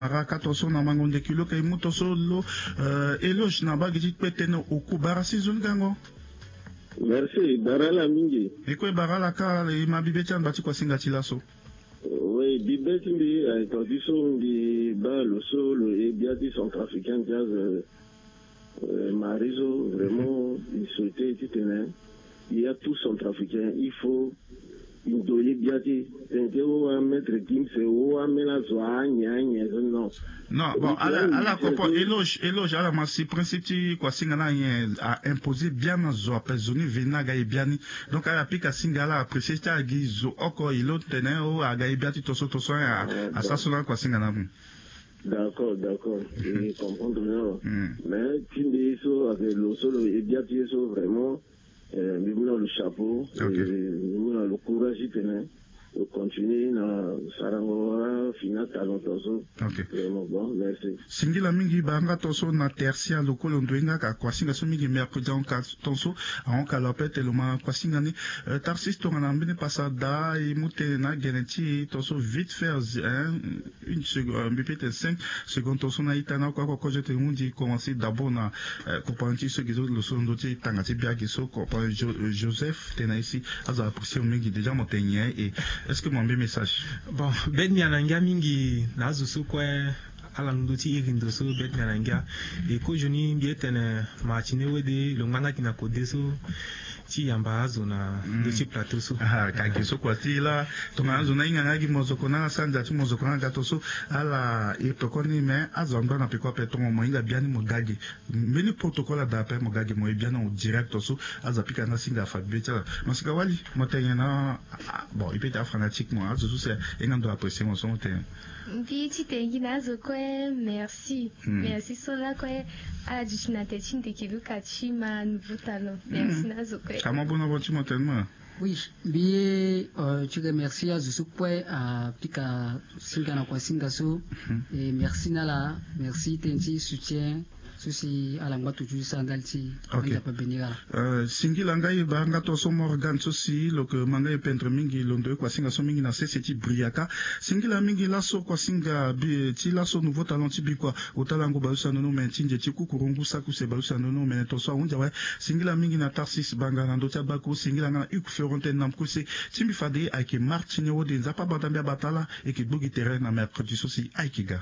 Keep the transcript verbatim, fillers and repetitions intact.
Ara ka tonso na mango ndeki lo ka e mu tonso lo. Eloge na bagi ti kpe tënë oku bara si nzoni gango. Merci bara ala mingi. E kue bara ala ka e ma bibe ti ala mba ti kuasinga ti laso. Oui bibe ti mbi aye tonga ti so mbi baa lo so lo e bia ti centrafricain jazz. Mari so vraiment e souhaite titene ya tout centrafricain il faut ndo ye bia ti tene ti wo wa maître gims wo wa mela zo anyen anyen zo non. Non bon ala ala comprend eloge eloge ala ma si principe ti kuasinga na anyen a imposer bia na zo ape zo ni veni na aga e bia ni. Donc ala pika singa ala apprécier ti ala gi zo oko e lo tene o aga e bia ti tonso tonso anyen. Asa so na kuasinga na mu. D'accord d'accord e comprendre ni awa. Mais ti mbi so avec lo so lo e bia ti ye so vraiment mbi mu na lo chapeau. Mbi mu na lo courage titene lo continue na sarango wala fini atalon tonso. Vraiment bon merci. Singila mingi baa nga tonso na tercia lo kue lo ndoe nga ka kuasinga so mingi mercredi ahon ka tonso. Ahon ka lo ape te lo ma kuasinga ni. Tarsis tongana mbeni pasa daa e mu tene na gene ti e tonso vite fait. Une seconde mbi peut être cinq secondes tonso na ita na oko oko kozo tene hundi commencer d'abord na compagnie ti so gi so lo so ndo ti tanga ti biagi so compagnie joseph tene na ye si azo apprécier mo mingi déjà mo tene nyen? Et est ce que mo ambi message? Bon bed mia na ngia mingi na azo so kue ala ndo ti iri ndo so bed mia na ngia. E kozo ni mbi etene matine wede lo ngbanga gi na kode so ti yamba azo na ndo ti plateau so. Ka gi so kua ti la tongana azo na hinga nga gi mozoko na ala sara ndia ti mozoko na ala ga tonso. Ala e pekoni me azo angba na peko ape tongo mo hinga biani mo ga gi. Mbeni protocole ada ape mo ga gi mo e biani au direct tonso. Azo apika na singa afa bibe ti ala. Masika wali mo tene na bon e peut ti afanatique mo azo so si e nga ndo apprécier mo so mo tene. Mbi ti tene gi na azo kue merci. Merci so lakue. Ala duti na te ti ndeke luka ti ma nouveau talon merci na azo kue. Kama bona bo ti mo tene ma. Oui mbi ye ti remercie azo so kue apika singa na kua singa so. Et merci na ala merci tënë ti soutien so si ala ngba tutu ti sara ndali ti. Anzapa bénir ala. Singila ngai baa nga tonso morgan so si lo ke ma ngai pendre mingi lo ndo ye kuasinga so mingi na sese ti briaka. Singila mingi laso kuasinga bi ti laso nouveau talent ti bikua. Ota lango baleuse andono mene ti nze ti kukurungu sakuse baleuse andono mene tonso ahunzi awe. Singila mingi na tarsis banga na ndö ti abaku singila nga na hugues florentine na mukuse. Ti mbi fade ayeke martine wode nzapa abata mbi abata ala. Eke gbu gi tere na mercredi so si ayeke ga.